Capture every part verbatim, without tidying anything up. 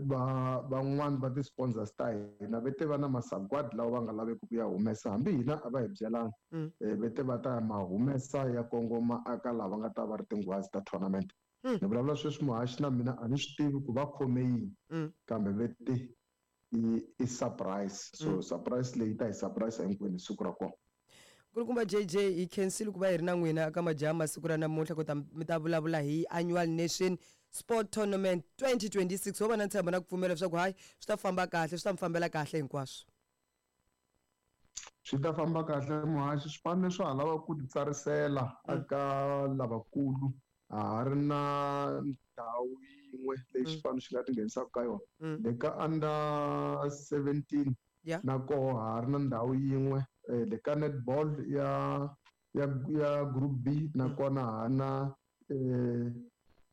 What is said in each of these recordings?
va van'wani va ti-sponsors ta hina va te va na masagwadi lawa va nga laveki ku ya humesa hambi hina a va hi byelanga va te va ta ma humesa ya kongoma aka lava nga ta va ri tinghwazi ta tournament. Ni vulavula sweswi muhaxi na mina a ni swi tivi ku va khome yini kambe va te i i surprise so surprise leyi ta hi surprise hinkwenu siku ra kona. Nkulukumba J J hi khensile ku va hi ri na n'wina eka majaha masiku ra namuntlha ku ta mi ta vulavula hi Annual Nation Sport Tournament twenty twenty-six. Ho va na ntshembo na ku pfumela leswaku hayi swi ta famba kahle, swi ta mi fambela kahle hinkwaswo. Swi ta famba kahle muhaxi, swipano swa ha lava ku titsarisela eka lavakulu. A ha ri na ndhawu yin'we leyi xipano xi nga ti nghenisaka ka yona. Le ka under seventeen na koho ha ri na ndhawu yin'we. Le ka netball ya ya ya group B na kona ha na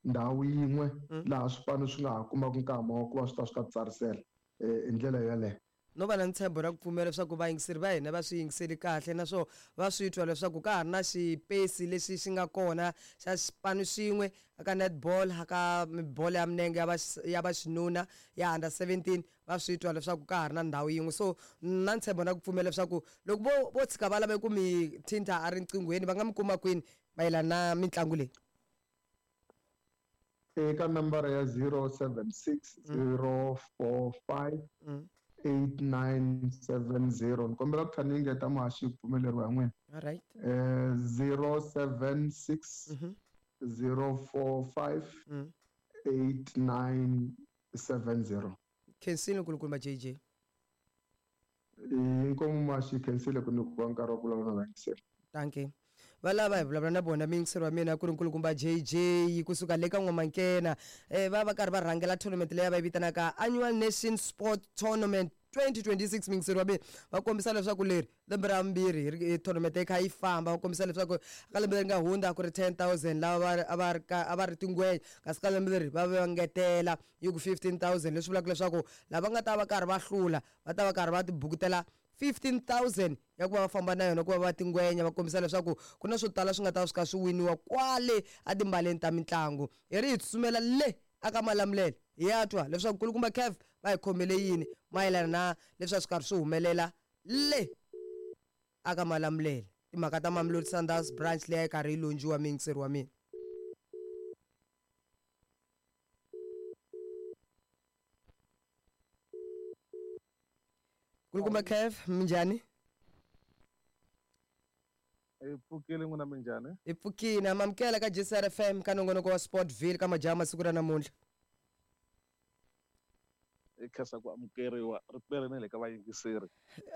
ndhawu yin'we laha swipano swi nga ha kumaka nkama wa ku va swi ta swi ta tsarisela hi ndlela yeleyo. No va na ntshembo ra ku pfumela leswaku vayingiseri va hina va swi yingiseli kahle naswona va swi twa leswaku ka ha ri na xipesi lexi xi nga kona xa xipano xin'we aka netball, aka bolo ya milenge ya va ya vaxinuna ya under seventeen, va swi twa leswaku ka ha ri na ndhawu yin'we. So na ntshembo na ku pfumela leswaku loko vo vo tshika va lave ku mi thinta a riqinghweni va nga mi kuma kwini mayelana na mitlangu leyi? Eka nambara ya zero seven six zero four five eight nine seven zero. Ni kombela ku tlhela ni engeta muhaxi ku pfumeleriwa hi n'wina. All right. Eh zero seven six zero four five eight nine seven zero. Khensile nkulukumba J J. Inkomu muhaxi, khensile ku nyikiwa nkarhi wa ku vulavula na vayingiseri. Thank you. Va lava hi vulavula na vona miyingiseri wa mina ku ri nkulukumba J J kusuka le ka N'wamankena. Eh va va karhi va rhangela tournament leyi va yi vitanaka Annual Nation Sport Tournament twenty twenty-six. Miyingiseri wa mina va kombisa leswaku leri lembe ra vumbirhi hi tournament yi kha yi famba, va kombisa leswaku ka lembe leri nga hundza ku ri ten thousand lava a va ri a va ri tingwenya, kasi ka lembe leri va va ngetela yi ku fifteen thousand, leswi vulaka leswaku lava nga ta va karhi va hlula va ta va karhi va tibukutela fifteen thousand ya ku va va famba na yona ku va va tingwenya. Va kombisa leswaku ku na swo tala swi nga ta swi kha swi winiwa kwale etimbaleni ta mitlangu. Hi ri hi tsutsumela le aka Malamulele hi ya twa leswaku nkulukumba Kev va hi khomele yini mayelana na leswi a swi karhi swi humelela le aka Malamulele, timhaka ta Mamelodi Sundowns branch leyi a yi karhi yi lonjiwa miyingiseri wa mina. Nkulukumba Kev, minjhani? Hi pfukile n'wina, minjhani? Hi pfukile. Amamukela ka J C R F M ka nongonoko wa Sportville ka majaha masiku ra namuntlha. Hi khensa ku amukeriwa ri na le ka vayingiseri.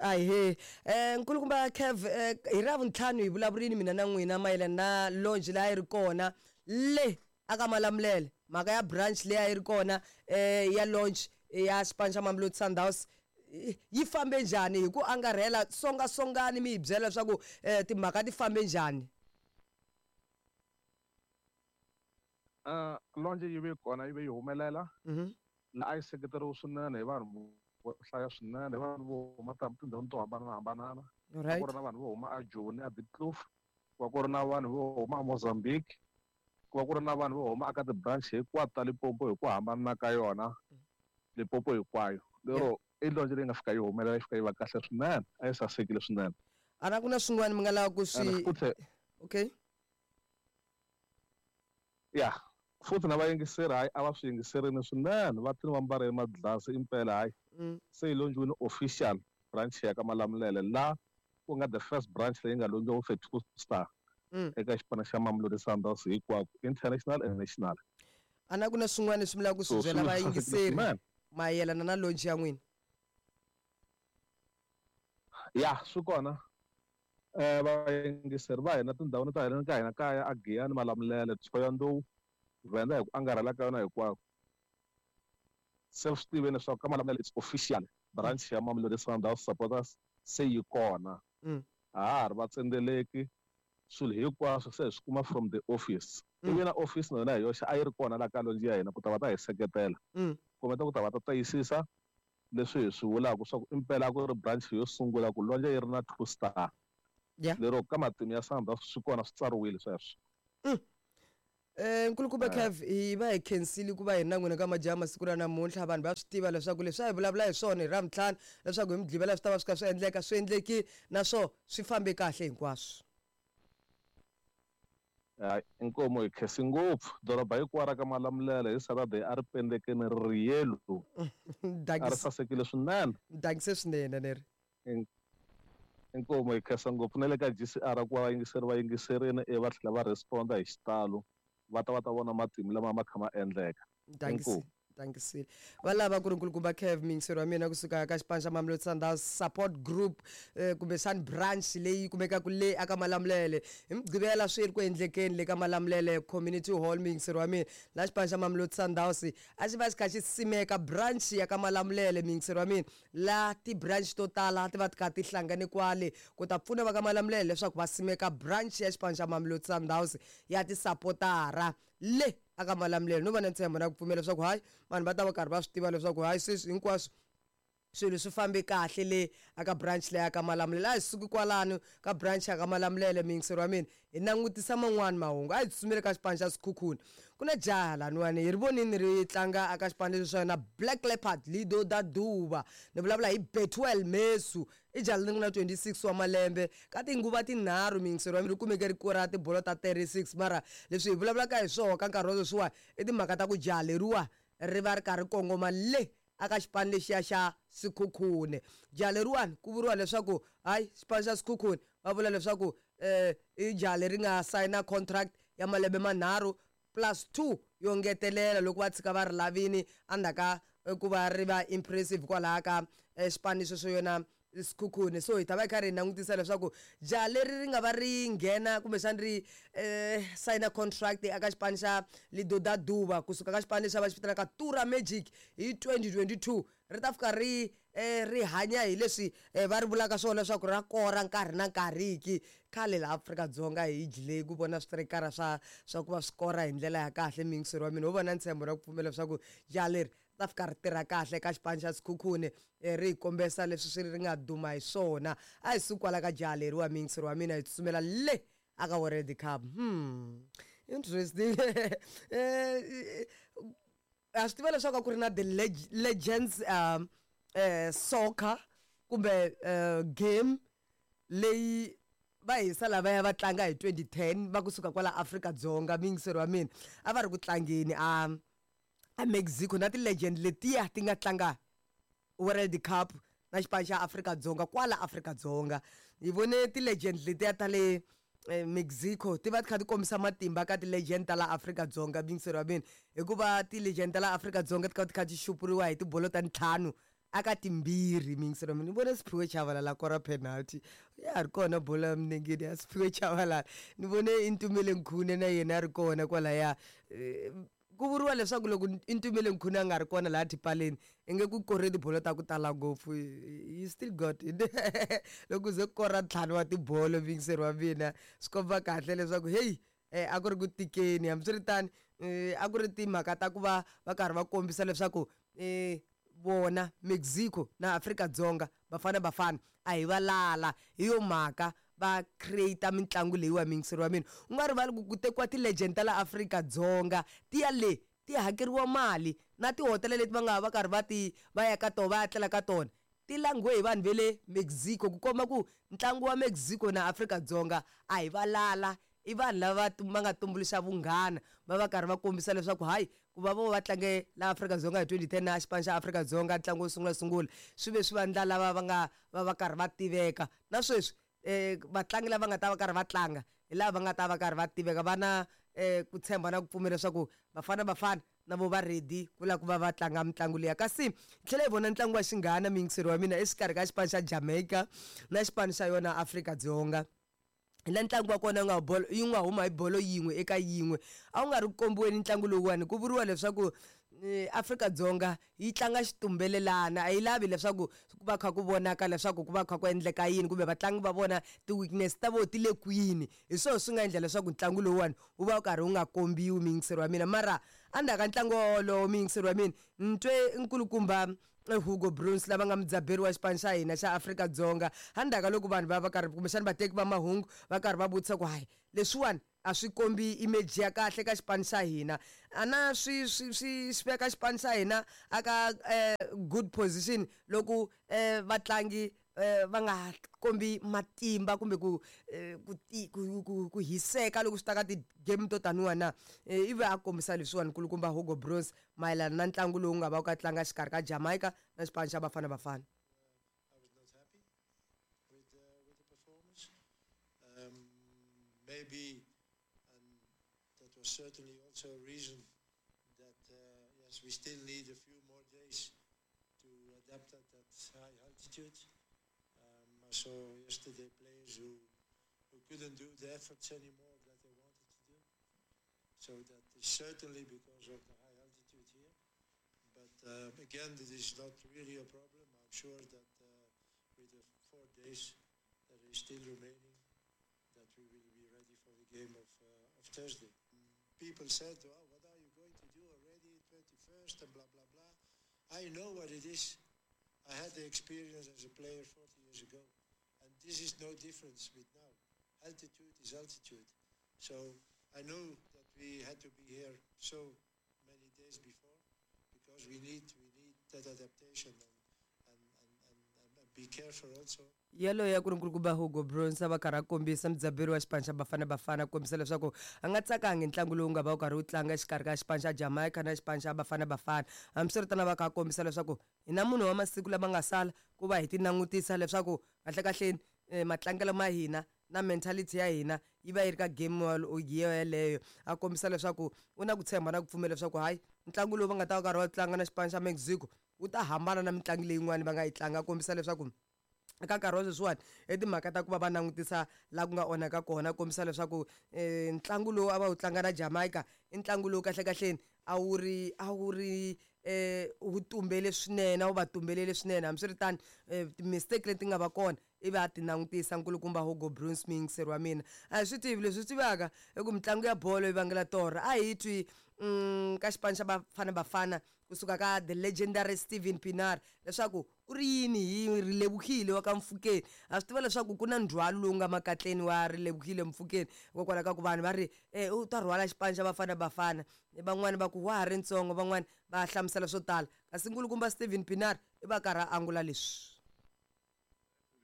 Ahee. Eh nkulukumba Kev, hi ra vuntlhanu hi vulavurini mina na n'wina mayelana na launch leyi a yi ri kona le aka Malamulele, mhaka ya branch leyi a yi ri kona eh ya launch ya xipano xa Mamelodi Sundowns yi fambe njhani hi ku angarhela songa songani mi hi byela leswaku timhaka ti fambe njhani? Uh launch yi ve kona, yi ve yi humelela. La a yi seketeriwe swinene hi vanhu vo hlaya swinene, hi vanhu vo huma tindhawini to hambanahambana. A ku ri na vanhu vo huma eJoni, eDiepkloof, ku va ku ri na vanhu vo huma eMozambique, ku va ku ri na vanhu vo huma eka ti-branch hinkwato ta Limpopo hi ku hambana ka yona, Limpopo hinkwayo. Lero i launch leyi nga fika yi humelela, yi fika yi va kahle swinene, a yi sasekile swinene. A na ku na swin'wana mi nga lava ku swi okay? Ya, futhi na vayingiseri hayi a va swi yingiserini swinene, va tini va mbarile madlasi impela hayi. Se yi lonjiwile official branch ya ka Malamulele la ku nga the first branch leyi nga lonjiwa with a two star eka xipano xa Mamelodi Sundowns hinkwako, international and national. A na ku na swin'wana leswi mi lavaka ku swi byela vayingiseri mayelana na launch ya n'wina? Ya, swi kona. Eh vayingiseri va hina tindhawini ta hina ka hina kaya a Giyani, Malamulele, Thohoyandou, Venda hi ku angarhela ka yona hinkwako. Se swi tiveni leswaku ka Malamulele it's official branch ya Mamelodi Sundowns supporters se yi kona. A ha ha ri vatsendzeleki, swilo hinkwaswo se hi swi kuma from the office. Ivi na office na yona hi yoxe a yi ri kona laha ka launch ya hina ku ta va ta hi seketela, kumbe ta ku ta va ta tiyisisa leswi hi swi vulaka swa ku impela ku ri branch yo sungula ku launch yi ri na two star. Lero ka matimu ya Sundowns swi kona swi tsariwile sweswo. Eh nkulukumba Kev, hi va hi khensile ku va hi na n'wina ka majaha masiku ra namuntlha. Vanhu va swi tiva leswaku leswi a hi vulavula hi swona hi Ravuntlhanu, leswaku hi Mugqivela swi ta va swi kha swi endleka, swi endlekile naswona swi fambe kahle hinkwaswo. Hayi, inkomu hi khensi ngopfu. Doroba hinkwaro ra ka Malamulele hi Saturday a ri pendekini ri ri yellow. A ri sasekile swinene. Dankise swinene neri. Inkomu hi khensa ngopfu na le ka G C R ku va vayingiseri va yingiserini ivi va tlhela va responda hi xitalo. Va ta va ta vona matimu lama ma kha ma endleka. Dankise. Dankisile. Va lava ku ri nkulukumba Kev, muyingiseri wa mina kusuka ka xipano xa Mamelodi Sundowns support group, eh, kumbexani branch leyi kumekaka le aka Malamulele. Hi Mugqivela swi ri ku endlekeni le ka Malamulele Community Hall, muyingiseri wa mina, laha xipano xa Mamelodi Sundowns a xi va xi kha xi simeka branch ya ka Malamulele, muyingiseri wa mina, laha ti-branch to tala ti va ti kha ti hlangane kwale ku ta pfuna va ka Malamulele leswaku va simeka branch ya xipano xa Mamelodi Sundowns ya tisapotara le aka Malamulele. No va na ntshembo na ku pfumela leswaku hayi vanhu va ta va karhi va swi tiva leswaku hayi sweswi hinkwaswo swilo swi fambe kahle le aka branch leyi aka Malamulele. A hi suki kwalano ka branch ya ka Malamulele, muyingiseri wa mina, hi langutisa man'wani mahungu. A hi tsutsumele ka xipano xa Sekhukhune. Ku na jaha laniwani hi ri vonini ri tlanga aka xipano lexi swa yona Black Leopard Lido da Duba. Ni vulavula hi Bethuel Mesu, i jaha leri nga na twenty-six wa malembe, ka tinguva tinharhu muyingiseri wa mina ri kumeke ri kora tibolo ta thirty-six. Mara leswi hi vulavulaka hi swona ka nkarhi wa sweswiwani i timhaka ta ku jaha leriwa ri va ri karhi kongoma le aka xipano lexiya xa Sekhukhune. Jaha leriwani ku vuriwa leswaku hayi xipano xa Sekhukhune va vula leswaku eh i jaha leri nga sayina contract ya malembe manharhu plus two yo ngetelela loko va tshika va ri lavini endzhaku ka ku va ri va impressive kwalaha ka xipano xexo yona Sekhukhune. So hi ta va hi karhi hi langutisa leswaku jaha leri ri nga va ri nghena kumbexani ri eh sayina contract eka xipano xa Lidoda Duba kusuka ka xipano lexi va xi vitanaka Tura Magic hi twenty twenty-two, ri ta fika ri eh ri hanya hi leswi va ri vulaka swona leswaku ra kora nkarhi na nkarhi ki. Khale laha Afrika-Dzonga hi dlile ku vona switerekara swa swa ku va swi kora hi ndlela ya kahle, muyingiseri wa mina. Ho va na ntshembo na ku pfumela leswaku jaha leri ta fika ri tirha kahle ka xipano xa Sekhukhune, ri hi kombesa leswi swi ri nga duma hi swona. A hi suki kwala ka jaha leriwa, muyingiseri wa mina, hi tsutsumela le aka World Cup. Hmm, interesting. Eh a swi tiva leswaku a ku ri na the legends um eh soccer kumbe game leyi va hisa lavaya va tlanga hi twenty ten va kusuka kwala Afrika-Dzonga, muyingiseri wa mina, a va ri ku tlangeni a a Mexico na ti-legend letiya ti nga tlanga World Cup na xipano xa Afrika-Dzonga kwala Afrika-Dzonga. Hi vone ti-legend letiya ta le Mexico ti va ti kha ti kombisa matimba ka ti-legend ta la Afrika-Dzonga, muyingiseri wa mina, hikuva ti-legend ta la Afrika-Dzonga ti kha ti kha ti xupuriwa hi tibolo ta ntlhanu aka timbirhi, muyingiseri wa mina. Ni vone Siphiwe Tshabalala kora penalty, ya ha ri kona bolo ya milengeni ya Siphiwe Tshabalala. Ni vone Itumeleng Khune na yena a ri kona kwalaya. Ku vuriwa leswaku loko Itumeleng Khune a nga ri kona laha tipaleni i nge ku kore tibolo ta ku tala ngopfu, you still got it. Loko ze kora ntlhanu wa tibolo, muyingiseri wa mina, swi komba kahle leswaku heyi a ku ri ku tikeni. Hambiswiritano a ku ri timhaka ta ku va va karhi va kombisa leswaku vona Mexico na Afrika-Dzonga Bafana Bafana a hi valala, hi yo mhaka va create mitlangu leyiwa, muyingiseri wa mina. U nga rivali ku ku tekiwa ti-legend ta la Afrika-Dzonga ti ya le ti hakeriwa mali na tihotela leti va nga va karhi va ti va ya ka tona va ya tlela ka tona ti langhiwe hi vanhu va le Mexico, ku komba ku ntlangu wa Mexico na Afrika-Dzonga a hi valala, i vanhu lava va nga tumbuluxa vunghana, va va karhi va kombisa leswaku hayi ku va vo va tlange la Afrika-Dzonga hi twenty ten na xipano xa Afrika-Dzonga ntlangu wo sungula sungula swi ve swi vandla lava va nga va va karhi va tiveka na sweswi eh vatlangi lava nga ta va karhi va tlanga hi lava va nga ta va karhi va tiveka, va na eh ku tshemba na ku pfumela leswaku Bafana Bafana na vo va ready ku lava ku va va tlanga mitlangu liya. Kasi tlhela hi vona ntlangu wa xinghana, muyingiseri wa mina, exikarhi ka xipano xa Jamaica na xipano xa yona Afrika-Dzonga. La ntlangu wa kona nga bolo yi nga huma hi bolo yin'we eka yin'we, a wu nga ri ku kombiweni ntlangu lowuwani. Ku vuriwa leswaku Afrika-Dzonga yi tlanga xitumbelelana, a yi lavi leswaku ku va kha ku vonaka leswaku ku va kha ku endleka yini kumbe vatlangi va vona ti-weakness ta vona ti le kwini. Hi swona swi nga endla leswaku ntlangu lowuwani wu va wu karhi wu nga kombiwi, muyingiseri wa mina. Mara endzhaku ka ntlangu wolowo, muyingiseri wa mina, ni twe nkulukumba Hugo Bruns lava nga mudzaberi wa xipano xa hina xa Afrika-Dzonga, endzhaku ka loko vanhu va va karhi kumbexana vateki va mahungu va karhi va vutisa ku hayi leswiwani a swi kombi image ya kahle ka xipano xa hina a na swi swi swi swi veka xipano xa hina aka eh, good position loko eh, vatlangi eh, va nga kombi matimba kumbe ku eh, ku ti- ku ku- ku hiseka loko swi ta ka ti-game to taniwa na. Eh, ivi a kombisa leswiwani nkulukumba Hugo Broos mayelana na ntlangu lowu nga va wu ka tlanga xikarhi ka Jamaica na xipano xa Bafana Bafana. I was not happy with uh, with the performance. Um, maybe, and that was certainly also a reason that uh, yes, we still need a few more days to adapt at that high altitude. Um, I saw yesterday players who who couldn't do the efforts anymore that they wanted to do. So that is certainly because of the high altitude here. But um, again, it is not really a problem. I'm sure that uh, with the four days that is still remaining, that we will be ready for the game of, uh, of Thursday. People said, well, what are you going to do already, twenty-first and blah, blah, blah. I know what it is. I had the experience as a player forty years ago. And this is no difference with now. Altitude is altitude. So I know that we had to be here so many days before because we need, we need that adaptation and, and, and, and, and be careful also. Yaloyo ya ku ri nkulukumba Hugo Broos a va karhi a kombisa mudzaberi wa xipano xa Bafana Bafana ku kombisa leswaku a nga tsakangi ntlangu lowu nga va wu karhi wu tlanga exikarhi ka xipano xa Jamaica na xipano xa Bafana Bafana. Hambiswiritano va kha a kombisa leswaku hi na munhu wa masiku lama nga sala ku va hi ti langutisa leswaku kahlekahleni eh, matlangelo ma hina na mentality ya hina yi va yi ri ka game yeleyo. A kombisa leswaku u na ku tshemba na ku pfumela leswaku hayi ntlangu lowu va nga ta va karhi va tlanga na xipano xa Mexico wu ta hambana na mitlangu leyin'wani va nga yi tlanga. A kombisa leswaku eka nkarhi wa sweswiwani i timhaka ta ku va va langutisa laha ku nga onhaka kona, kombisa leswaku um ntlangu lowu a va wu tlanga na Jamaica i ntlangu lowu kahlekahleni a wu ri a wu ri um wu tumbele swinene, a wu va tumbelele swinene. Hambiswiritano um ti-mistake leti nga va kona ivi a ti langutisa nkulukumba Hugo Broos muyingiseri wa mina. A hi swi tivi leswi swi tivaka i ku mitlangu ya bolo yi vangela torha. A hi twi um ka xipano xa Bafana Bafana kusuka ka the legendary Steven Pienaar leswaku u ri yini hi Relebohile wa ka Mfukeni. A swi tiva leswaku ku na ndzhwalo lowu nga makatleni wa Relebohile Mfukeni hikokwalaho ka ku vanhu va ri eh, u ta rhwala xipano xa Bafana Bafana, van'wani va ku wa ha ri ntsongo, van'wani va hlamusela swo tala, kasi nkulukumba Steven Pienaar i va karhi a angula leswi.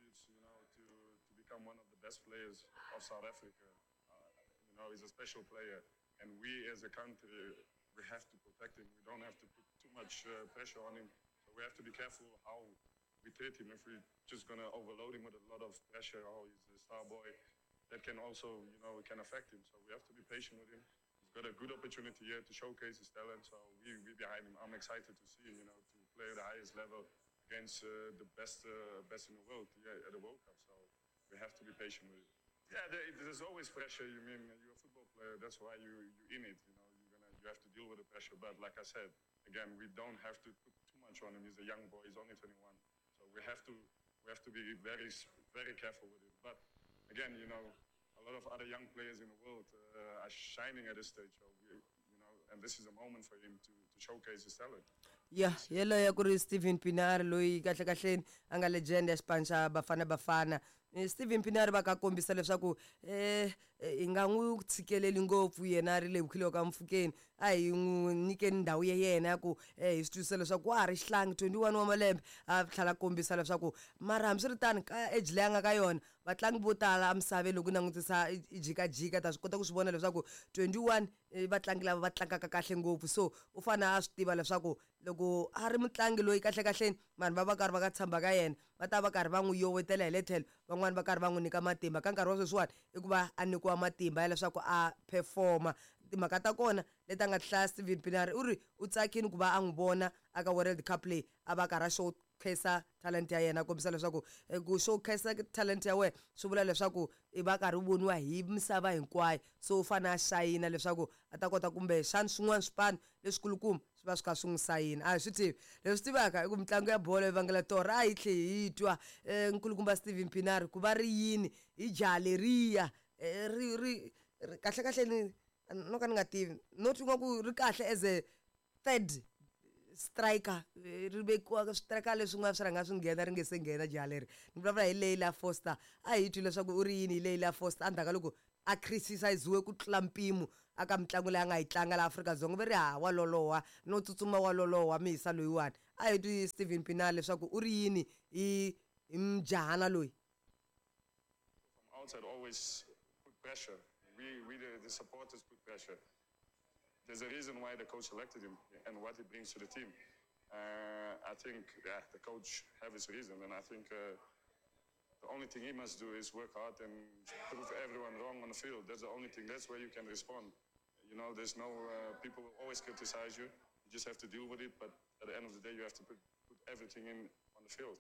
It's, you know, to, to become one of the best players of South Africa. Uh, you know, he's a special player, and we as a country, we have to protect him. We don't have to put too much uh, pressure on him. So we have to be careful how we treat him. If we're just gonna overload him with a lot of pressure, oh, he's a star boy, that can also, you know, can affect him. So we have to be patient with him. He's got a good opportunity here to showcase his talent. So we we behind him. I'm excited to see him, you know, to play at the highest level against uh, the best uh, best in the world, yeah, at the World Cup. So we have to be patient with him. Yeah, there, there's always pressure. You mean you're a football player? That's why you you're in it. You know, you're gonna you have to deal with the pressure. But like I said, again, we don't have to put too much on him. He's a young boy. He's only twenty-one. So we have to we have to be very very careful with it. But again, you know, a lot of other young players in the world uh, are shining at this stage. So we, you know, and this is a moment for him to, to showcase his talent. Ya yeleyo ku ri Steven Pienaar loyi kahlekahleni a nga legend ya xipano xa Bafana Bafana. Steven Pienaar va ka kombisa leswaku eh hi nga n'wi tshikeleli ngopfu yena Relebohile ka Mfukeni, a hi n'wi nyikeni ndhawu ya yena ya ku eh hi swi twisisa leswaku wa ha ri xihlangi twenty-one wa malembe. A tlhela a kombisa leswaku mara hambiswiritano ka age leyi a nga ka yona vatlangi vo tala emisaveni loko u langutisa i jikajika ta swi kota ku swi vona leswaku twenty-one vatlangi lava va tlangaka kahle ngopfu. So u fanele a swi tiva leswaku loko a ri mutlangi loyi kahlekahleni vanhu va va karhi va ka tshemba ka yena va ta va karhi va n'wi yowetela hi le tlhelo, van'wani va karhi va n'wi nyika matimba. Ka nkarhi wa sweswiwani i ku va a nyikiwa matimba ya leswaku a performa. Timhaka ta kona leti a nga ti hlaya Steven Pienaar u ri u tsakile ku va a n'wi vona aka World Cup leyi a va karhi a showcase talent ya yena, a kombisa leswaku ku showcase talent ya wena swi vula leswaku i va karhi u voniwa hi misava hinkwayo. So u fanele a xayina leswaku a ta kota kumbe xana swin'wana swipano leswikulukumba swi va swi kha swi n'wi sayina. A hi swi tivi leswi tivaka i ku mitlangu ya bolo yi vangela torha. A hi tlhe hi twa nkulukumba Steven Pienaar ku va ri yini hi jaha leriya ri ri kahlekahle ni no ka ni nga tivi no twi nga ku ri kahle as a third striker ri vekiwa striker leswin'wana swi rhanga swi nghena ri nge se nghena jaha leri. Ni vulavula hi Leila Foster. A hi twi leswaku u ri yini hi Leila Foster endzhaku ka loko a criticiziwe ku tlula mpimo aka mitlangu leyi a nga yi tlanga laha Afrika-Dzonga va ri ha wa loloha no tsutsuma wa loloha mihisa loyiwani a hi twi Steven Pienaar leswaku u ri yini hi hi mujahana loyi. From outside always put pressure. We, we the, the supporters put pressure. There's a reason why the coach selected him and what he brings to the team. Uh, I think yeah, the coach have his reason, and I think uh, the only thing he must do is work hard and prove everyone wrong on the field. That's the only thing. That's where you can respond. You know, there's no uh, people will always criticize you. You just have to deal with it. But at the end of the day, you have to put, put everything in on the field.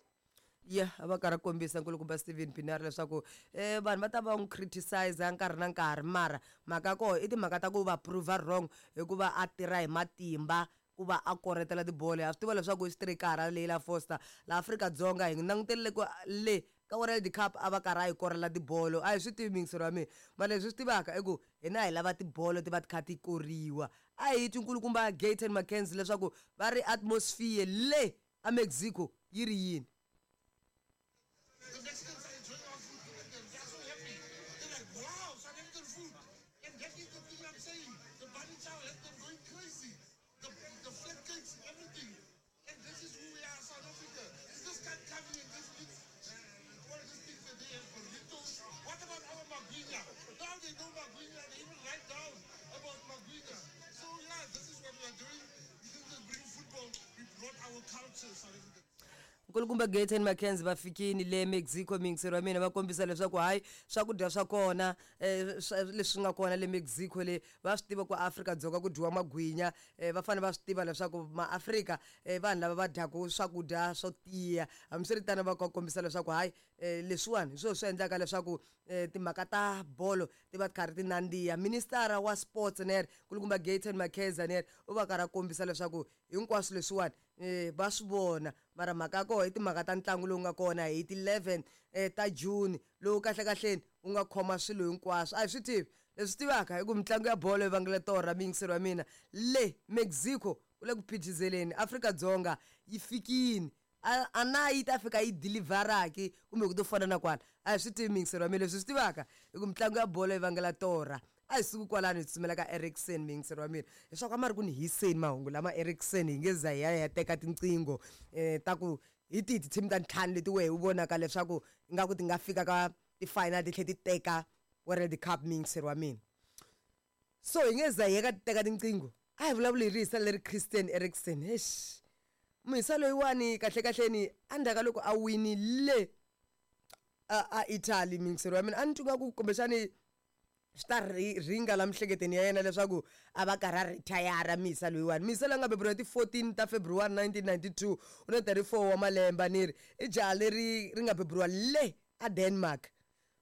Ya a va karhi a kombisa nkulukumba Steven Pienaar leswaku um vanhu va ta va n'wi criticize nkarhi na nkarhi mara mhaka ya koho i timhaka ta ku va prove wrong hikuva a tirha hi matimba ku va a koretela tibolo. Ha swi tiva leswaku i xitirikara leyi la Foster laha Afrika-Dzonga hi langutele ku le ka World Cup a va karhi a yi korela tibolo a hi swi tivi miyingiselo wa mina mara leswi swi tivaka i ku hina hi lava tibolo ti va ti kha ti koriwa. A hi twi nkulukumba Gayton McKenzie leswaku va ri atmosphere le a Mexico yi ri yini. The Mexicans are enjoying our food. They are so happy. They're like, wow, South African food. And that is the thing I'm saying. The bunny chow has them going crazy. The, the flat cakes, everything. And this is who we are, South Africa. You just can't come here and just eat uh, all these things that they have, burritos. What about our magwinya? Now they know magwinya. They even write down about magwinya. So yeah, this is what we are doing. We didn't just bring football. We brought our culture, South Africa. Nkulukumba Gayton McKenzie va fikini le Mexico miyingiselo wa mina va kombisa leswaku hayi swakudya swa kona um leswi nga kona le Mexico le va swi tiva ku Afrika-Dzonga ku dyiwa magwinya um va fanele va swi tiva leswaku maAfrika um vanhu lava va dyaka swakudya swo tiya hambiswiritano va kombisa leswaku hayi um leswiwani hi swona swi endlaka leswaku um timhaka ta bolo ti va ti karhi ti nandziha. Ministara wa sports ner nkulukumba Gayton McKenzie ner u va karhi a kombisa leswaku hinkwaswo leswiwani um va swi vona mara mhaka ya koho i timhaka ta ntlangu lowu nga kona hi ti eleven ta June lowu kahlekahleni wu nga khoma swilo hinkwaswo. A hi swi tivi leswi tivaka hi ku mitlangu ya bolo yi vangele torha miyingiselo wa mina le Mexico ku le ku phithizeleni Afrika-Dzonga yi fikini a na yi ta fika yi deliveraki kumbe ku to fana na kwala a hi swi tivi miyingiselo wa mina leswi swi tivaka hi ku mitlangu ya bolo yi vangela torha. A hi suku kwalano hi tsutsumela ka Eriksen miyingiselo wa mina leswaku a ma ri ku ni hiseni mahungu lama Eriksen hi nge za hi ya hi ya teka tinqingho um ta ku hi tihi ti-team ta ntlhanu leti wehe u vonaka leswaku ingaku ti nga fika ka ti-final ti tlhela ti teka World Cup miyingiselo wa mina. So hi nge za hi ya ka teka tinqingho a hi vulavuli hi rihisa leri Christian Eriksen. Eish muhisa loyiwani kahlekahleni endzhaku ka loko a winile a a Italy miyingiselo wa mina a ni twi nga ku kumbexani swi ta ringa la miehleketweni ya yena leswaku a va karhi a retire mihisa loyiwani. Mihisa loyi a nga beburiwa ti fourteen ta February nineteen ninety-two u na thirty-four wa malembe ni ri i jaha leri ri nga beburiwa le a Denmark.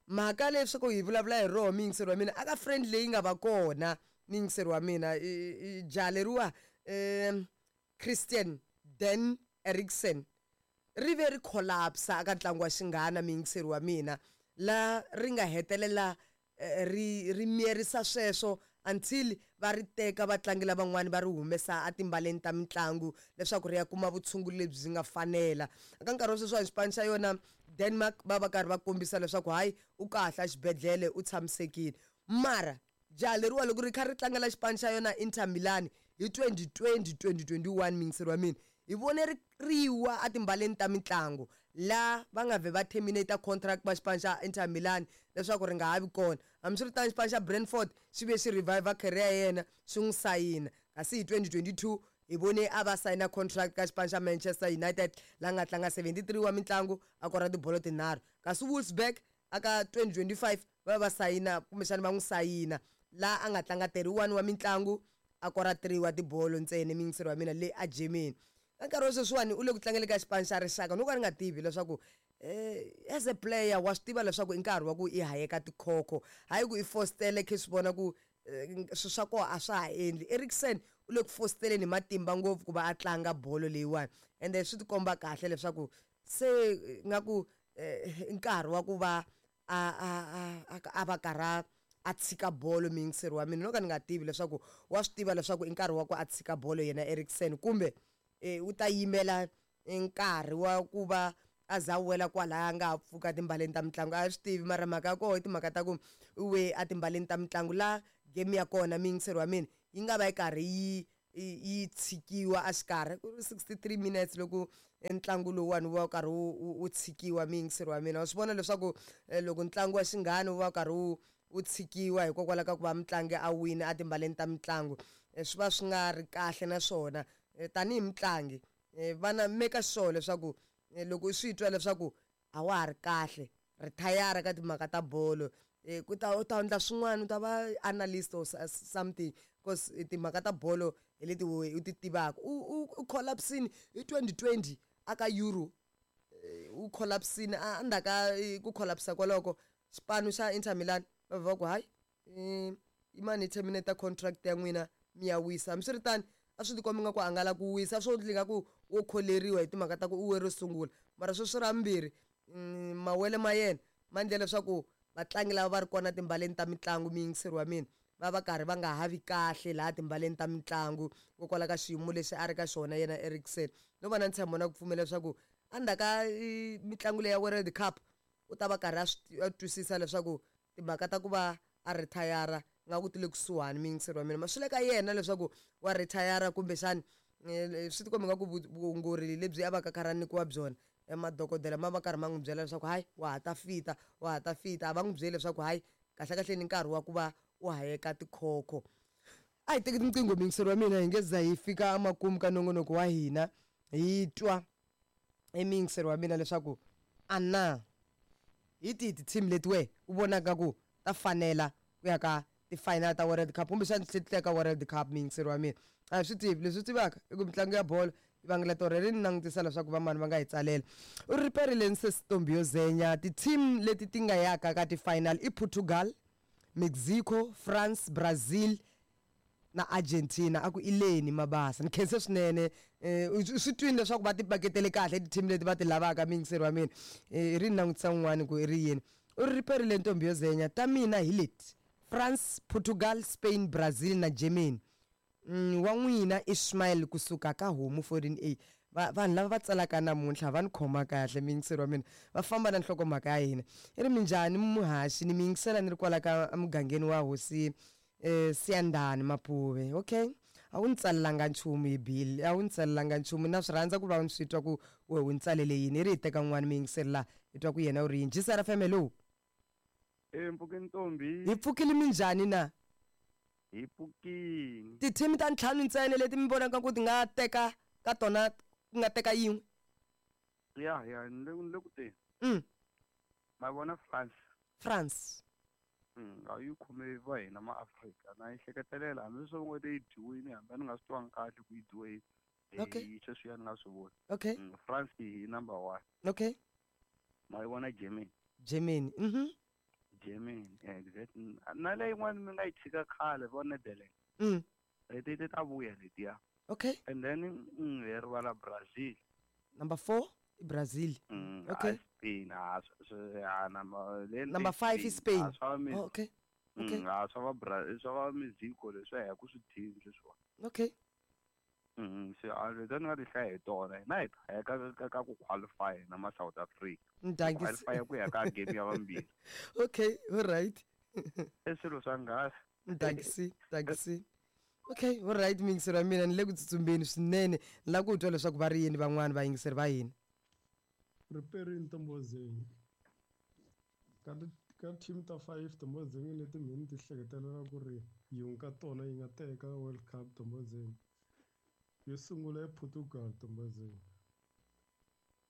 Mhaka leswaku hi vulavula hi roho miyingiselo wa mina aka friend leyi nga va kona miyingiselo wa mina i jaha leriwa um Christian Dan Eriksen ri ve ri collapse aka ntlangu wa xinghana miyingiselo wa mina la ri nga hetelela ri ri miyerisa sweswo until va ri teka vatlangi lavan'wani va ri humesa etimbaleni ta mitlangu leswaku ri ya kuma vutshunguri lebyi nga fanela. Eka nkarhi wa sweswiwani xipano xa yona Denmark va va karhi va kombisa leswaku hayi u kahle exibedhlele u tshamisekile mara jaha leriwa loko ri kha ri tlangela xipano xa yona Inter Milan hi twenty twenty twenty twenty-one miyingiselo wa mina hi vone ri riwa etimbaleni ta mitlangu la va nga vhe va terminate contract va xipano xa Inter Milan leswaku ri nga ha vi kona. Hambiswiritano xipano xa Brentford xi ve xi revive career ya yena xi n'wi sayina kasi hi twenty twenty-two hi vone a va sayina contract ka xipano xa Manchester United la nga tlanga seventy-three wa mitlangu a kora tibolo tinharhu kasi Wolfsburg aka twenty twenty-five va va sayina kumbexana va n'wi sayina la a nga tlanga thirty-one wa mitlangu a kora three wa tibolo ntsena miyingiselo wa mina le a Germany. Ka nkarhi wa sweswiwani u le ku tlangeni ka xipano xa rixaka no ka ni nga tivi leswaku um as a player wa swi tiva leswaku i nkarhi wa ku i hayeka tikhokho hayi ku i fositele khe swi vona ku swilo swa kona a swa ha endli. Eriksen u le ku fositeleni hi matimba ngopfu ku va a tlanga bolo leyiwani ende swi tikomba kahle leswaku se nga ku nkarhi wa ku va a a a a va karhi a tshika bolo miyingiselo wa mina no ka ni nga tivi leswaku wa swi tiva leswaku i nkarhi wa ku a tshika bolo yena Eriksen kumbe u ta yimela nkarhi wa ku va a za wela kwalaya nga ha pfuka timbaleni ta mitlangu a swi tivi mara mhaka ya koho i timhaka ta ku u we a timbaleni ta mitlangu la game ya kona miyingiseri wa mina yi nga va yi karhi yi yi tshikiwa a xikarhi ku ri sixty-three minutes loko ntlangu lowuwani wu va wu karhi wu wu tshikiwa miyingiseri wa mina wa swi vona leswaku loko ntlangu wa xinghana wu va wu karhi wu wu tshikiwa hikokwalaho ka ku va mutlangi a wina a timbaleni ta mitlangu swi va swi nga ri kahle naswona tanihi mutlangi vana make sure leswaku loko u swi twa leswaku a wa ha ri kahle rithayara ka timhaka ta bolo ku ta u ta endla swin'wana u ta va analyst or something because timhaka ta bolo hi leti u ti tivaka u u collapsini hi twenty twenty aka Euro u collapsini a ndzhaku ka ku collapsa kwaloko xipano xa Inter Milan va va ku hayi i mani hi terminate contract ya n'wina mi ya wisa hambiswiritano a swi tikomba nga ku a nga la ku wisa swo ndli nga ku wo kholeriwa hi timhaka ta ku u we ro sungula mara sweswi ra vumbirhi mawele ma yena ma endle leswaku vatlangi lava va ri kona timbaleni ta mitlangu miyingiseri wa mina va va karhi va nga havi kahle laha timbaleni ta mitlangu hikokwalaho ka xiyimo lexi a ri ka xona yena Eriksen no va na ntshembo na ku pfumela leswaku endzhaku ka mitlangu leyi ya World Cup u ta va karhi a twisisa leswaku timhaka ta ku va a rithayara nga ku ti le kusuhani miyingiseri wa mina ma swi le ka yena leswaku wa rithayara kumbexani swi tikomba nga ku vuongori lebyi a va ka karhi a nyikiwa byona madokodela ma va karhi ma n'wi byela leswaku hayi wa ha ta fita wa ha ta fita a va n'wi byeli leswaku hayi kahlekahle ni nkarhi wa ku va u hayeka tikhokho a hi teki tinqingho miyingiseri wa mina hi nge za hi fika emakumu ka nongonoko wa hina hi twa emiyingiseri wa mina leswaku a na hi tihi ti-team leti we u vonaka ku ta fanela ku ya ka ti-final ta World Cup kumbexana ti tlhela ka World Cup miyingiseri wa mina a hi swi tivi leswi tivaka i ku mitlangu ya bolo yi vangela torhe ri ni langutisa leswaku vamani va nga hi tsalela u ri perile Ntombi yo Zenya ti-team leti ti nga yaka ka ti-final i Portugal, Mexico, France, Brazil na Argentina a ku ileni mabasa ni khense swinene swi twini leswaku va ti paketele kahle ti-team leti va ti lavaka miyingiseri wa mina i ri ni langutisa un'wani ku i ri yini u ri riperile Ntombi yo Zenya ta mina hi leti France, Portugal, Spain, Brazil na Germany. Mm, wa n'wina Ismail kusuka ka homu fourteen A va vanhu lava va tsalaka namuntlha va ni khoma kahle miyingiseri wa mina va famba na nhlokomhaka ya hina i ri minjhani muhaxi ni miyingisela ni ri kwala ka mugangeni wa hosi eh Siyandhani Mapuve okay a wu ni tsalelanga nchumu hi bill a wu ni tsalelanga nchumu na swi rhandza ku va ni swi twa ku we u ni tsalele yini i ri hi teka n'wana miyingiseri laha hi twa ku yena u ri yini G S R F M hello. E mpfuke Ntombi hi pfukile minjhani na hi pfukile ti-team ta ntlhanu ntsena leti mi vonaka ku ti nga teka ka tona ku nga teka yin'we ya ya ni le ni le ku teni mm ma vona France France mm a yi khome va hina ma Afrika na yi hleketelela hambi swo ngo te yi dyiwini hambi ni nga swi twangi kahle ku yi dyiwe okay hi sweswiya ni nga swi voni okay France hi number one okay ma yi vona Germany Germany mhm Germany exactly na leyi yin'wana mi nga yi tshika khale vo Netherlands mm leti ti ta vuya letiya okay and then mm, hi rivala Brazil number four i Brazil mm, okay Spain a swi number number five i Spain oh, okay okay mm, a swa va Brazil swa va Mexico leswi ya ku swi team sweswiwa okay mm se a leti ni nga ti hlaya hi tona hina hi ta ka ka ka ku qualify na ma South Africa qualify ku ya ka game ya vambirhi okay all right i swilo swa ngasi thanks thanks okay all right miyingiseri wa mina ni le ku tsutsumbeni swinene ni lava ku twa leswaku va ri yini van'wani vayingiseri va hina Riperile Ntombozeni ka ka team ta five Ntombozeni leti mina ti hleketelela ku ri yin'we ka tona yi nga teka World Cup Ntombozeni yo sungula i Portugal Ntombozeni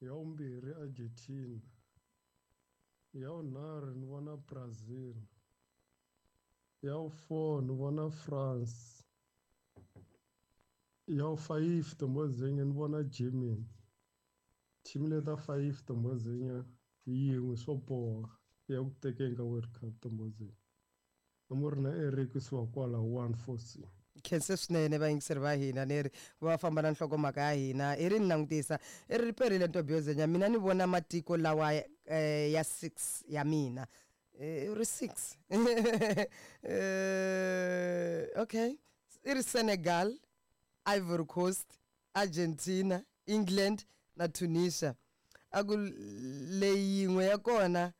ya vumbirhi Argentina ya vunharhu ni vona Brazil ya vu-four ni vona France ya vu-five Ntombozeni ni vona Germany team leta five Ntombozeni yin'we swo boha ya ku tekeni ka World Cup Ntombozeni a ri na Eric kusuka kwala one four C khense swinene vayingiseri va hina ni ri va famba na nhlokomhaka ya hina i ri ni langutisa i ri riperile Ntombi yo Zenya mina ni vona matiko lawa eh, ya six ya mina i ri six eh, okay i ri Senegal, Ivory Coast, Argentina, England na Tunisia. A ku leyi yin'we ya kona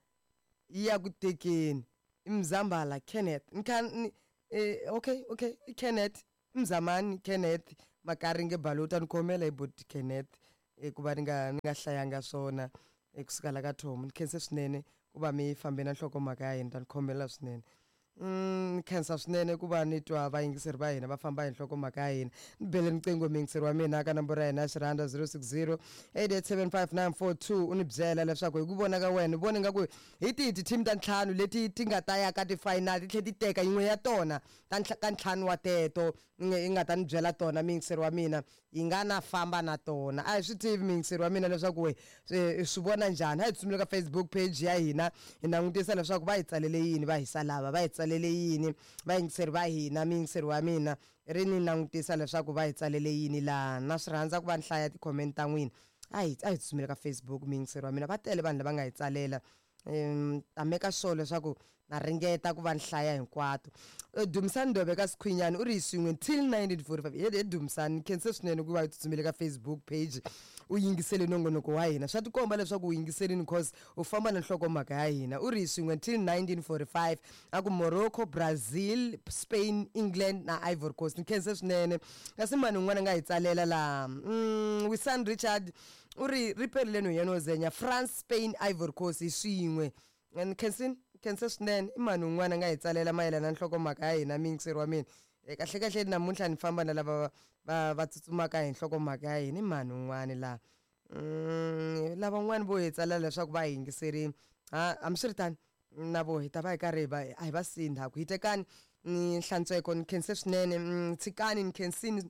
yi ya ku tekeni i Mzambala Kenneth. Nkhan eh, okay okay Kenneth Mzamani Kenneth Makaringe Balota ni khomela hi bot Kenneth ku va ni nga ni nga hlayanga swona kusuka la ka Tom. Ni khense swinene ku va mi fambe na nhlokomhaka ya hina, ta ni khomela swinene. Mm khensa swinene ku va ni twa vayingiseri va hina va famba hi nhlokomhaka ya hina. Ni bele riqingho muyingiseri wa mina ka nomboro ya hina ya xirhanda zero six zero eight eight seven five nine four two u ni byela leswaku hi ku vona ka wena u vona ingaku hi tihi ti-team ta ntlhanu leti ti nga ta ya ka ti-final ti tlhela ti teka yin'we ya tona ta ka ntlhanu wa teto yi nga ta ni byela tona muyingiseri wa mina yi nga na famba na tona. A hi swi tivi muyingiseri wa mina leswaku we swi vona njhani. A hi tsutsumile ka Facebook page ya hina hi langutisa leswaku va hi tsalele yini, va hisa lava va hi tsalele yini vayingiseri va hina. Muyingiseri wa mina ri ni langutisa leswaku va hi tsalele yini laha. Na swi rhandza ku va ni hlaya ti-comment ta n'wina. A hi a hi tsutsumile ka Facebook muyingiseri wa mina, va tele vanhu lava nga hi tsalela. Um ta meka sure leswaku na ringeta ku va ni hlaya hinkwato. Dumisani Ndobe ka Sikhwinyani u ri hi swin'we till nineteen forty-five. He Dumisani, ni khense swinene ku va u tsutsumile ka Facebook page u yingisele nongonoko wa hina. Swa tikomba leswaku u yingiselini cause u famba na nhlokomhaka ya hina. U ri hi swin'we till nineteen forty-five a ku Morocco, Brazil, Spain, England na Ivory Coast. Ni khense swinene. Kasi mani un'wana a nga hi tsalela laha, Wisan Richard u ri ri perile nhwanyana wo zenya France, Spain, Ivory Coast hi swin'we. Ni khensini khense swinene. I mani un'wana a nga hi tsalela mayelana na nhlokomhaka ya hina muyingiseri wa mina. Kahle kahle namuntlha ni famba na lava va va tsutsumaka hi nhlokomhaka ya hina. I mani un'wana laha lavan'wani vo hi tsalela leswaku va hi yingiserini. Ha hambiswiritano na vo hi ta va hi karhi hi va a hi va siyi ndzhaku. Hi tekani ni hlantsweko ni khense swinene. Tshikani ni khensini.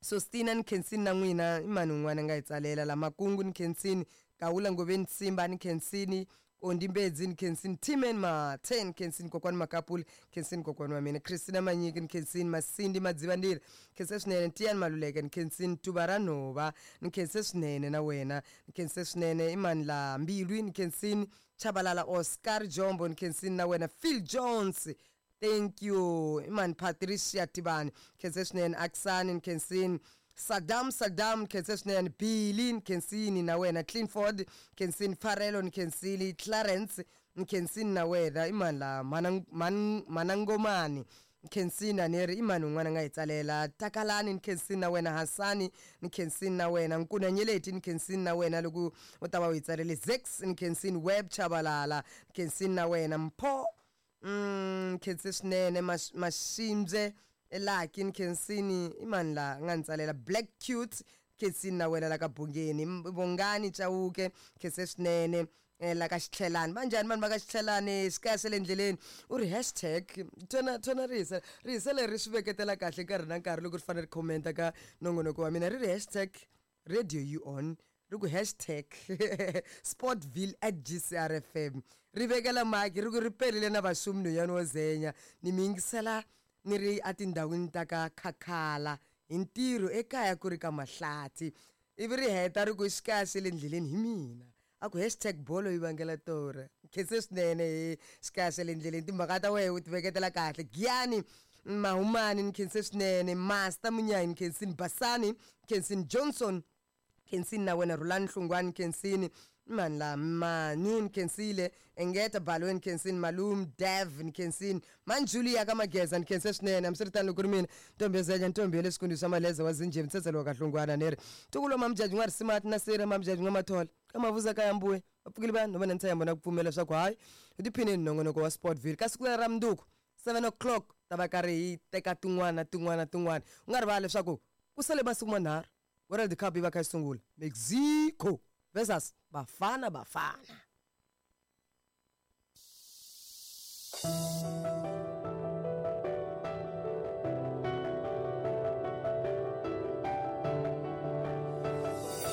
Sostina ni khensini na n'wina. I mani un'wana a nga hi tsalela la Makungu ni khensini, Kawula Ngoveni Simba ni khensini, Kondi Mbedzi ni khensini, Timen ma ten khensini, kokwani Makapuli khensini, kokwani wa mina Christina Manyiki ni khensini, Masindi Madzivandila khense swinene, Tiyani Maluleke ni khensini, Tuva ra Nhova ni khense swinene na wena ni khense swinene. I mani la Mbilwi ni khensini, Chabalala Oscar Jombo ni khensini na wena, Phil Jones thank you. I mani Patricia Tibani khense swinene, Aksani ni khensini, Saddam Saddam khense swinene, Billy ni khensini na wena, Clinford khensini, Farelo ni khensini, Clarence ni khensini na wena. I mani la Manangomani khensini aneri. I mani un'wana a nga hi tsalela Takalani ni khensini na wena, Hassani ni khensini na wena, Nkunanyeleti ni khensini na wena loko u ta va u hi tsalele, Zex ni khensini, Web Chabalala ni khensini na wena, Mpho mm khense swinene, Mashimbye Elaki ni khensini. I mani la nga ni tsalela Black Cute khensini na wena la ka Bungeni, Bongani Chauke khense swinene la ka Xitlhelani. Va njhani vanhu va ka Xitlhelani? Xikaya xa le endleleni u ri hashtag tona tona rihisa rihisa leri swi veketela kahle nkarhi na nkarhi loko ri fanele ri commenta ka nongonoko wa mina. Ri ri hashtag radio you on, ri ku hashtag Sportville at G C R F M. Ri vekela maki ri ku ri perile na vaxumi nhwanyana wo zenya. Ni mi yingisela ni ri etindhawini ta ka Khakhala hi ntirho ekaya ku ri ka Mahlathi. Ivi ri heta ri ku xikaya xa le ndleleni hi mina. A ku hashtag bolo yi vangela torha. Khense swinene hi xikaya xa le ndleleni. Timhaka ta wena u ti veketela kahle. Giyani Mahumani ni khense swinene, Master Munyayi ni khensini, Basani khensini, Johnson khensini na wena, Rulani Hlungwani khensini, mani la Manu ni khensile, Engeta Balweni khensini, Malum Dev ni khensini, Manjulia ka Mageza ni khense swinene. Hambiswiritano loko ri mina ntombi yo zenya ntombi ya le xikundu xa Maleza wa Zinjhe mtsetselo wa ka Hlungwana ni ri ntukulo Mamjaji n'wa Risimati na Sira Mamjaji n'wa Mathola ka Mavuza ka Yambuwe va pfukile vanhu va na ntshembo na ku pfumela leswaku hayi hi tiphineni nongonoko wa Sportville ka siku ra mundzuku seven o'clock ta va karhi hi teka tin'wana tin'wana tin'wana. U nga rivali leswaku ku sale masiku manharhu World Cup yi va kha yi sungula, Mexico versus Bafana Bafana.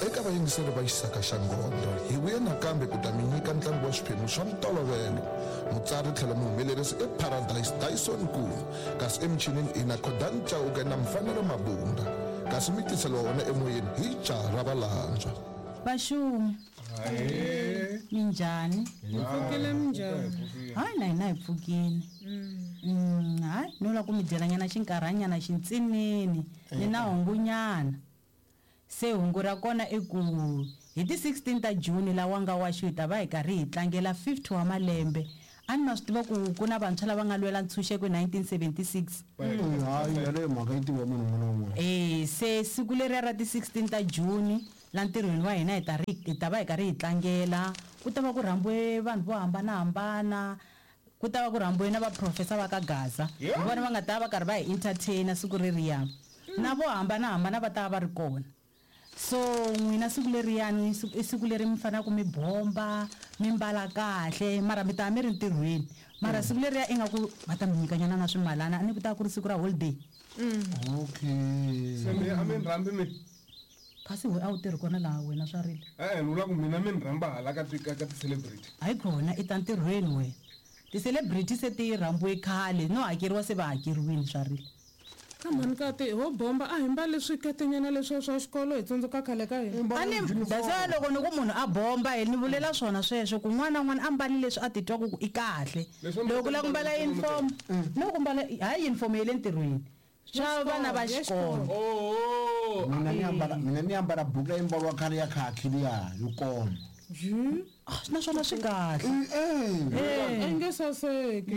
Eka vayingiseri va Xisaka xa Ngondho hi vuye nakambe ku ta mi nyika ntlangu wa swiphemu swa ntolovelo. Mutsari tlhela muhumelerisi i Paradise Dyson Nkulu, kasi emichinini i na Khodan Chauke na Mfanelo Mabunda, kasi mi tiseliwa wona emoyeni hi jaha ra valandzwa. Vaxumi minjhani? Hi pfukile minjhani? Hayi na hina hi pfukile. Hayi no lava ku mi byelanyana xinkarhanyana xintsinini ni na hungunyana. Se hungu ra kona i ku Hi ti sixteen ta June lawa nga wa xi ta va hi karhi hi tlangela fifty wa malembe. A ni ma swi tiva ku ku na vantshwa lava nga lwela ntshunxeko hi nineteen seventy-six. Hayi yaleyo mhaka yi tiva munhu un'wana na un'wana. Eh se siku leriya ra ti sixteen ta June la ntirhweni wa hina hi ta ri hi ta va hi karhi hi tlangela. Ku ta va ku rhambiwe vanhu vo hambanahambana. Ku ta va ku rhambiwe na vaprofesa va ka Gaza. Hi vona va nga ta va karhi va hi entertainer siku reriya. Na vo hambanahambana va ta va ri kona. So n'wina siku leriyani i siku leri mi faneleke mi bomba mi mbala kahle mara mi ta mi ri ntirhweni mara siku leriya ingaku va ta mi nyikanyana na swimalana a ni ku ta ku ri siku ra holiday. Okay. Se mi a mi rhambi mi kasi we a wu tirhi kona laha wena swa rile. E-e ni vula ku mina mi ni rhamba hala ka ti ka ti-celebrity. Hayi kona i ta ntirhweni wena. Ti-celebrity se ti rhambiwe khale no hakeriwa se va hakeriwile swa rile. Ka mhani ka ti ho bomba a hi mbali swiketenyana leswiya swa xikolo hi tsundzuka khale ka hina. A ni that's why loko ni ku munhu a bomba hi ni vulela swona sweswo ku n'wana na n'wana a mbali leswi a titwaku ku i kahle. Loko ku lava ku mbala uniform no ku mbala hayi uniform ya le ntirhweni swa vana va xikolo. Mina ni ambala mina ni ambala buku leyi mbariwa khale ya khakhi liya yo koma. Naswona swi kahle. I nge saseki.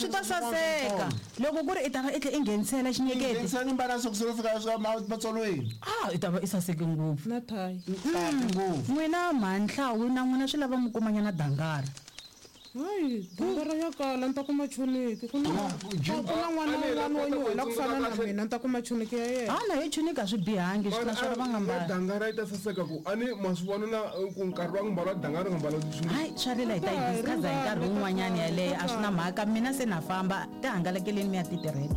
Swi ta saseka loko ku ri i ta va i tlhe i nghenisela xinyeketi. Nghenisela ni mbala sokisi ro fika swa matsolweni. Ah i ta va i saseke ngopfu. Na thayi. Ngopfu. N'wina mhanhlawu na n'wina swi lava mi kumanyana dangara. Hayi dangara ya kala ni ta kuma chuniki ku na ku na n'wana un'wana wo nyuhela ku fana na mina ni ta kuma chuniki ya yena. Ha na hi chuniki a swi bihangi swi naswona va nga mbali. Dangara yi ta saseka ku a ni ma swi vona na ku nkarhi wa ku mbala dangara nga mbala chuniki. Hayi swa rila hi ta yi discuss hi nkarhi wun'wanyana yaleyo a swi na mhaka mina se na famba ti hangalakeleni mi ya ti tirhela.